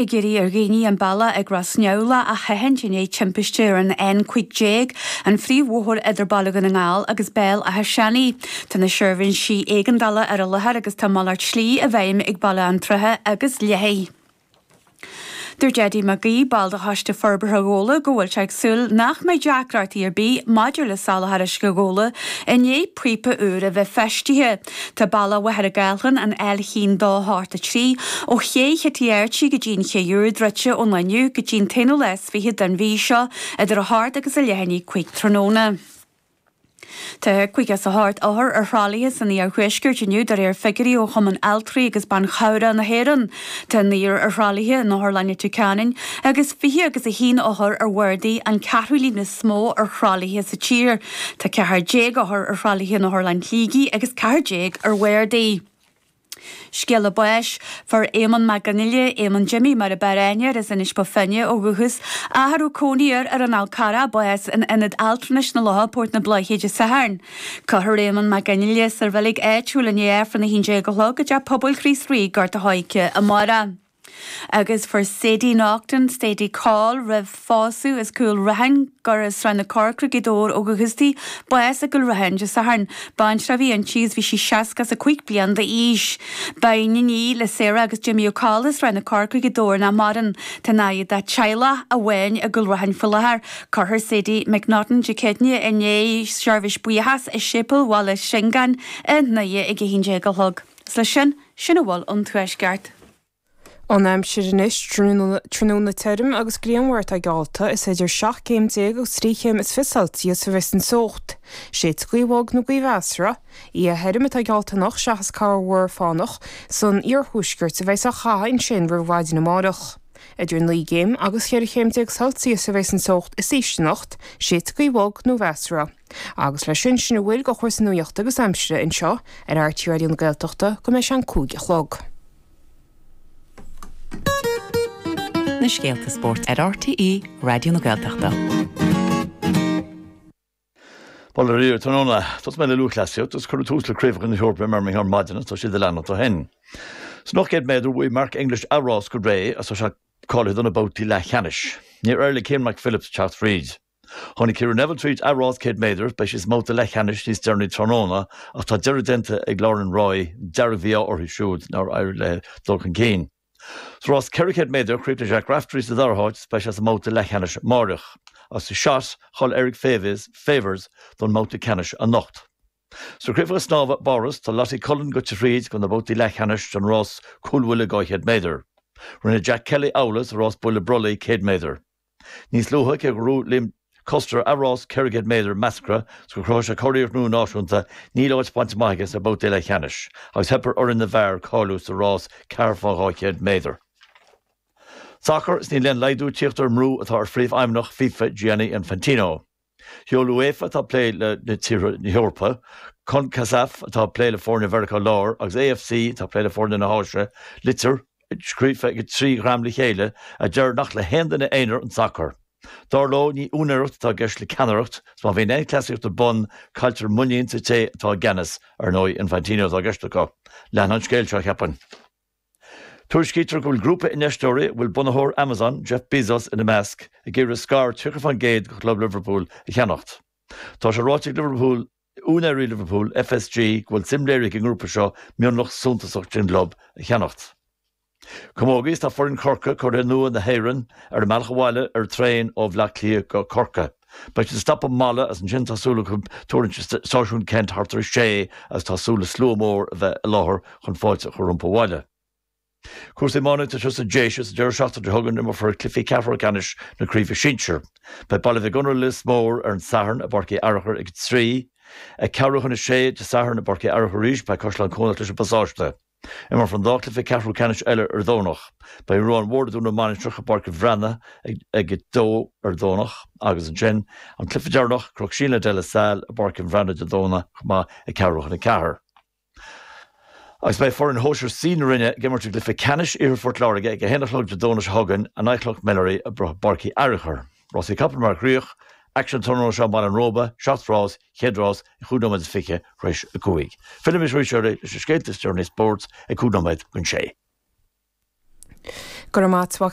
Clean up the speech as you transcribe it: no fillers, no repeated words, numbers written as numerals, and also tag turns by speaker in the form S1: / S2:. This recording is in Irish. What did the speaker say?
S1: Ag iarraidh ar dhaoine an bealach ag Ros Neamhlach a sheachaint i ndiaidh timpiste ar an N15, an phríomhbhóthar idir Baile Dhún na nGall agus Béal Átha Seanaidh. Tá na seirbhísí éigeandála ar an láthair agus tá malairt slí i bhfeidhm ag Baile an tSratha agus Léithigh. Dúirt Eddie Mac Aoidh, ball de Choiste Forbartha Ghabhla, go bhfuil sé ag súil nach mbeidh deacrachtaí ar bith maidir le soláthar uisce Ghabhla i ndiaidh píopa úr a bheith feistithe. Tá bealach Mhachaire Gathlán, an L1 2 8 3, ó Ché Chití Archie go dtí an Ché Úr druidte ón lá inniu go dtí an t-aonú lá is fiche den mhí seo idir 8 agus a leath i ndiaidh 5 tráthnóna. Tá 58 othar ar thralaithe san iarthuaisceart inniu de réir figiúirí ó Chumann Altraí agus Ban Chabhrach na hÉireann. Tá naonúr ar thralaithe in Otharlann Leitir Ceanainn agus 20 agus 1 othar ar bhardaí, an ceathrú líon is mó ar thralaithe sa tír. Tá 14 othar ar thralaithe in Otharlann Shligigh agus 14 ar bhardaí. Scéala báis, Fuair Éamonn Mac Fhionnghaile, Éamonn Jimmy mar a b'fhearr aithne air, as Inis Bó Finne ó dhúchas, ach a raibh cónaí air ar an Fhál Carrach, bás in Ionad Altranais na Locha, Port na Bláiche Dé Sathairn. Cuirfear Éamonn Mac Fhionnghaile sa reilig áitiúil i ndiaidh Aifreann 11 a chlog i dTeach Pobail Chríost Rí, Gort a' Choirce amárach. Agus fuair Sadie Naughton, Sadie Coll, roimh phósadh as Cúil Raithin, gur as Srath na Corcra, Gaoth Dobhair ó dhúchas di, bás i gCúil Raithin Dé Sathairn. Baintreach a bhí inti agus bhí sí 65 bliain d'aois. Ba iníon í le Sarah agus Jimmy Ó Coll as Srath na Corcra, Gaoth Dobhair nach maireann. Tá in aghaidh dá teaghlach amháin i gCúil Raithin faoi láthair. Cuirfear Sadie McNaughton Dé Céadaoine i ndiaidh seirbhís buíochas i Séipéal Bhaile Shiongáin i nDoire ag 11 a chlog. Is leis sin, sin a bhfuil ón Tuaisceart.
S2: An aimsir anois, tráthnóna tirim agus grianmhar atá geallta, is idir 17 céim agus 23 chéim Celsius a bheas an teocht. Séidfidh gaoth bhog nó gaoth mheasartha. Oíche thirim atá geallta anocht seachas corrmhúr fánach san iarthuaisceart a bheas á chaitheamh ansin roimh mhaidin amárach. Idir 9 gcéim agus 14 chéim Celsius a bheas an teocht is ísle anocht, séidfidh gaoth bhog nó mheasartha. Agus leis sin, sin a bhfuil de chúrsaí nuachta agus aimsire anseo ar RTÉ Raidió na Gaeltachta go mbeidh sé an 5 a chlog.
S3: Na scéalta spóirt ar RTÉ Raidió na Gaeltachta.
S4: Bail ó Dhia oraibh tráthnóna. Tosóidh mé le lúthchleasaíocht agus cuireadh tús le Craobhacha na hEorpa i mBirmingham ar maidin agus tá siad ag leanacht ó shin. San 800 méadar bhuaigh Mark English a rás go réidh agus tá sé cáilithe do na babhtaí leathcheannais. Níor éirigh le Cian McPhillips teacht fríd. Tháinig Ciara Neville tríd a rás 100 méadar, beidh sí sa mbabhta leathcheannais níos deireanaí tráthnóna ach tá deireadh déanta ag Lauren Roy, dearg-mhí-ádh uirthi siúd nár éirigh léi dul chun cinn. Sa rás 400 méadar, chríochnaigh Jack Raftery sa dara háit is beidh sé sa mbabhta leathcheannais amáireach. Agus sa shot, cháiligh Eric Favors don mbabhta ceannais anocht. Sna craobhacha snámha i bPáras, tá Lottie Cullen gaibhte thríd go na babhtaí leathcheannais don rás cúlbhuille 200 méadar. Rinne Jack Kelly amhlaidh sa rás buaile brollaigh 100 méadar. Níos luaithe, cé gur bhuaigh Liam Custer a rás 400 méadar measctha is gur chruthaigh sé curiarracht nua náisiúnta, níl áit bainte amach aige sna babhtaí leathcheannais agus theip ar fhoireann na bhfear cáiliú sa rás 4 fá 200 méadar. Sacar, is níl aon laghdú ag tíocht ar an mbrú atá ar phríomhfheidhmeannach FIFA Gianni Infantino. Sheol UEFA, atá ag plé le tíortha na hEorpa, Concacaf, atá ag plé le foirne Mheiriceá Láir, agus AFC, atá ag plé le foirne na hÁise, litir, scríofa ag an dtrí dhream le chéile, a deir nach le haon duine aonair an sacar. Dar leo, ní úinéireacht atá i gceist le ceannaireacht, is má bhíonn aon chleasaíocht ar bun, cailltear muinín sa té atá i gceannas, ar ndóigh, Infantino atá i gceist acu. Leanfaidh an scéal seo, cheapfainn. Tuairiscítear go bhfuil grúpa infheisteoirí, a bhfuil bunaitheoir Amazon, Jeff Bezos, ina measc, ag iarraidh scair 30% de chlub Liverpool a cheannacht. Tá sé ráite ag Liverpool, úinéirí Liverpool, FSG, go bhfuil suim léirithe ag an ngrúpa seo mionlach suntasach den gclub a cheannacht. Camógaí is tá foireann Chorcaí, curaithe nua na hÉireann, ar a mbealach abhaile ar traein ó Bhleá Cliath go Corcaigh. Beidh siad ag stopadh i Mala agus ansin tá súil acu tuirlingt i Stáisiún Kent thart ar a sé agus tá súil le slua mór a bheith i láthair chun fáilte a chur rompu abhaile. Cúrsaí iománaíochta anseo sa Déise sa deireadh seachtaine seo chugainn imreofar cluichí ceathrú ceannais na Craoibhe Sinsir. Beidh Baile Mhic Gonair Lios Mór ar an Satharn i bPáirc Uí Fhearchair ag 3. Ag ceathrú chun a sé Dé Sathairn i bPáirc Uí Fhearchair arís beidh Caisleán Cuanach leis an bPasáiste. Imreofar an dá chluiche ceathrú ceannais eile ar Domhnach. Beidh an Ruán Mhór i dTúr na Mainistreach i bPáirc an Bhreathnaigh ag 2 ar Domhnach agus ansin an cluiche deireanach, Cnoc Síon le De La Salle i bPáirc an Bhreathnaigh Dé Domhnaigh chomh maith ag ceathrú chun 4. Agus beidh foireann Shóisir C na Rinne ag imirt i gcluiche ceannais Iarthar Phort Láirge ag 1 a chlog Dé Domhnaigh seo chugainn in aghaidh Chnoc Mellerí i bPáirc Uí Fhearchair. Rásaí capall mar chríoch, aicsean tráthnóna seo i mBaile an Róba, 7 rás, chéad rás ag 5 nóiméad is 20 tar éis 5. Fillfidh mise arís oraibh leis na scéalta is deireanaí spóirt ag 5 nóiméad don sé.
S2: Go raibh maith a't.